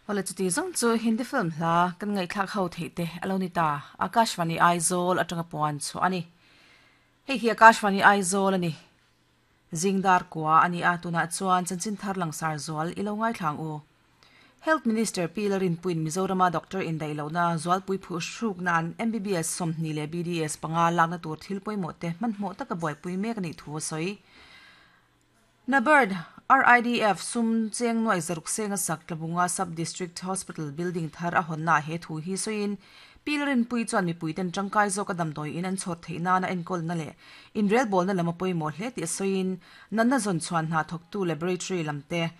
Awle chuti zawng chu Hindi film hla kan ngaihthlak ho theih te a lo ni ta. Akashvani Aizawl atanga puan chhuah a ni. Hei hi Akashvani Aizawl a ni. Zingdar kua a ni a, tunah chuan chanchin thar langsar zual i lo ngaithla ang u. Health Minister Pi Larinpuiin Mizorama doctor indaih lohna zualpui phuh hruk nan MBBS 20 leh BDS panga lakna tur thil pawimawh te hmanhmawh taka buaipui mek a nih thu a sawi. NABARD, RIDF, sum cheng nuaih zaruk senga sak Tlabunga Sub-District Hospital building thar a hawnnaah he thu hi sawiin Pi Larinpuii chuan mipuiten tangkai zawka damdawi in an chhawr theih nana enkawlna leh inrelbawlna lam a pawimawh hle tih a sawiin natna zawn chhuan hna thawktu laboratory lam te,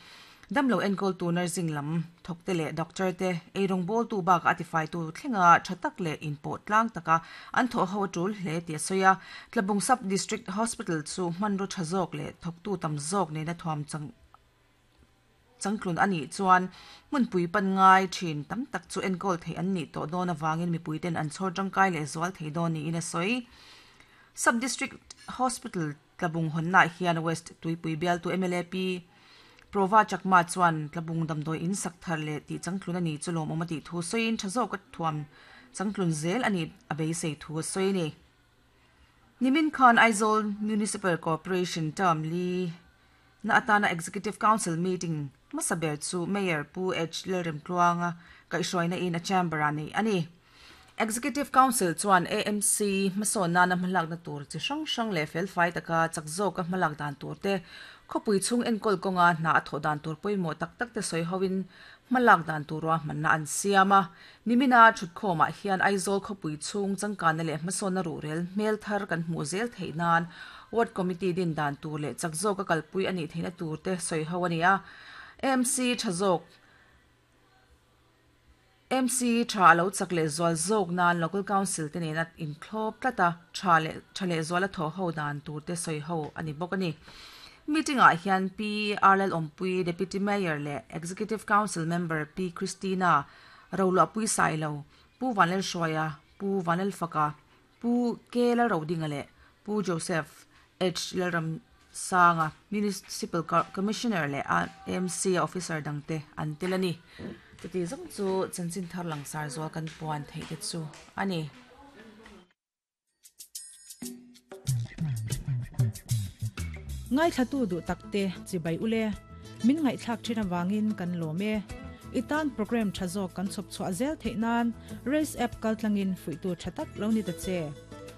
Damlo enkawltu nursing lam thawkte leh doctor te eirawngbawltu bakah a tifaitu thlenga tha tak leh inpawh tlang taka an thawh ho a tul hle tih a sawi a. Tlabung Sub District Hospital chu hmanraw tha zawk leh thawktu tam zawk nena thuam changtlun a nih chuan hmunpui pan ngai thin tam tak chu enkawl theih an nih tawh dawn avangin mipuiten an chhawr tangkai leh zual thei dawn niin a sawi. Sub District Hospital Tlabung hawnnaah hian West Tuipui bialtu mla Pi Prova Chakma chuan Tlabung damdawi in sak thar leh tih changtlun a nih chu lawmawm a tih thu sawiin tha zawka thuam changtlun zel a nih a beisei thu a sawi a ni. Nimin khan Aizawl Municipal Corporation term li na atana Executive Council meeting hmasa ber chu Mayor Pu H Lalremtluanga kaihhruaina in a chamber-ah neih a ni. Executive Council chuan AMC hmasawn nana hmalakna tur chi hrang hrang leh felfai taka chak zawka hmalak dan tur te, khawpui chhung enkawl kawnga hna a thawh dan tur pawimawh tak tak te sawi hoin hmalak dan tur ruahmanna an siam a. Nimina thutkhawmah hian Aizawl khawpui chhung changkanna leh hmasawnna ruhrel hmel thar kan hmuh zel theih nan Ward Committee din dan tur leh chak zawka kalpui a nih theihna tur te sawi ho a ni a. AMC tha zawk. MC tha a lo chak leh zual zawk nan Local Council te nena inthlawp tlat a, tha leh tha leh zuala thawh ho dan tur te sawi ho a ni bawk a ni. Meeting ah hian Pi Arlel Awmpui, Deputy Mayor leh Executive Council Member Pi Christina Roluahpui Sailo, Pu Vanlalhruaia, Pu Vanlalfaka, Pu K Lalrodinga leh Pu Joseph H Lalramsanga, Municipal Commissioner leh AMC officer dangte an tel a ni. Chuti zawng chu chanchin thar langsar zual kan puan theih te chu a ni. Ngaithlatu duh takte chibai ule, min ngaihthlak thin avangin kan lawm e. I tan program tha zawk kan chhawp chhuah zel theih nan Race app kaltlangin fuihtu tha tak lo ni ta che.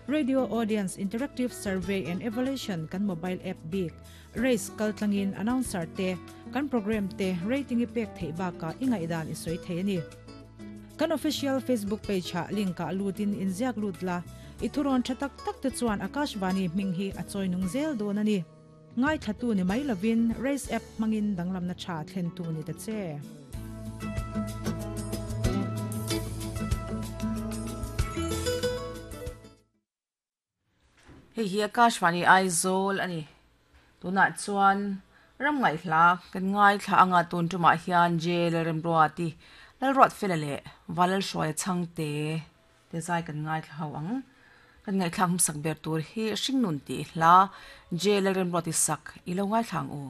Radio Audience Interactive Survey and Evaluation kan mobile app bik Race kaltlangin announcer te, kan program te rating i pek theih bakah i ngaihdan i sawi thei a ni. Kan official Facebook page ah link ah lutin inziak lut la, i thurawn tha tak tak te chuan Akashvani hming hi a chawi nung zel dawn a ni. Ngaithlatu ni mai lovin Race app hmangin danglamna tha thlentu ni ta che. Hei hi Akashvani Aizawl a ni. Tunah chuan ram ngaihhla kan ngaithla anga tun tumah hian J Lalremruati, Lalruatfela leh Valalhruaia Chhangte te zai kan ngaithla ho ang. Kan ngaihthlak hmasak ber tur hi Hringnun tih hla J Lalremruati sak i lo ngaithla ang u.